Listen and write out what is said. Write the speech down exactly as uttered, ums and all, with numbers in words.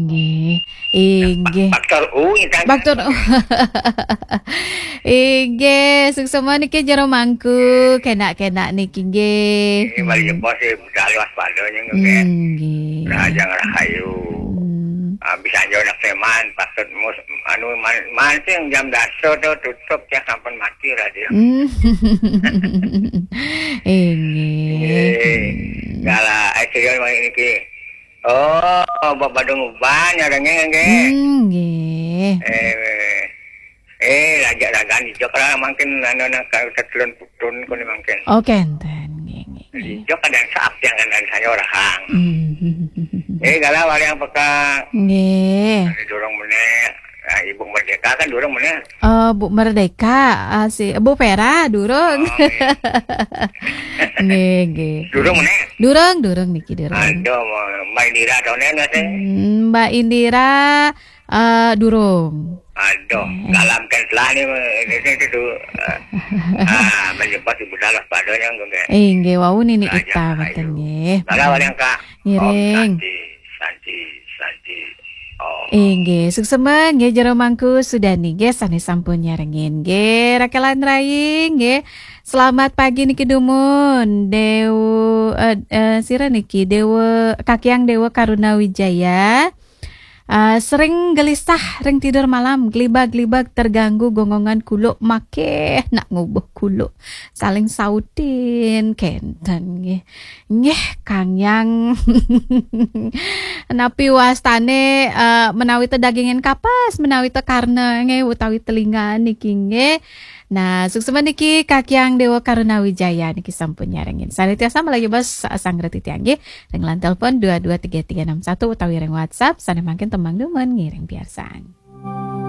Nggih. Inggih. Faktor U, intan. Faktor U. Inggih, suksma niki jero mangku, kenak-kenak niki nggih. Ini mari jebos sih, budal waspada nya nggih. Inggih. Rahajeng rahayu. Hmm. Ah, bisa aja anak seman, patut mus, anu, man, mancing jam dasa tuh tutup, ya, sampun mati radio. Hmm. Inggih. Inggih. Kala, eh, serius mari niki. Oh, Bapak Badung Uban, ya, nggih, nggih. Hmm, nggih. Eh, eh, raja ragan hijau, kalau mungkin, anu, nang, kalau tetelun putun, kuni mungkin. Oh, kenten, nggih, nggih, nggih. Hijau kadang saap yang kadang saya orang. Hmm. Eh, galau ada yang peka. Nggih. Ada dorong meneh. Nah, Ibu Merdeka kan dorong meneh. Eh, Bu Merdeka, ah, si Bu Vera durung. Oh, nggih. Nggih, nggih. Durung meneh. Durung, durung niki durung. Aduh, Mbak Indira donen nggih sih? Hmm, Mbak Indira, eh, durung. Aduh, dalam kan telah ni, ini, ini tu. Ah, menyebut ibu dalam padanya nggih. Eh, nggih, wau nini ita, ayo. Mboten nggih. Kalau ada yang Kak. Ngiring. Om Santi, Santi, Santi. Oh. Inggih, suksma nggih jero mangku Sudani nggih sane sampun nyarengin nggih. Rakelan Rai nggih. Selamat pagi niki dumun. Dewa, eh, eh, sira niki Dewa, Kakiang Dewa Karuna Wijaya. Eh, sering gelisah ring tidur malam, gelibag-gelibag terganggu gonggongan kuluk makeh nak ngubuh kuluk. Saling sautin kenten nggih. Nggih, Kang Yang. Napi wastane, eh, menawi te dagingin kapas, menawi te karna nggih, utawi telinga niki nggih. Nah, suksma niki Kakiang Dewa Karuna Wijaya niki sampun nyarengin. Sane tiasa malajebos sanggra titiang nggih. Ring line telepon dua dua tiga tiga enam satu utawi ring WhatsApp, sane mangkin tembang dumun ngiring piarsang.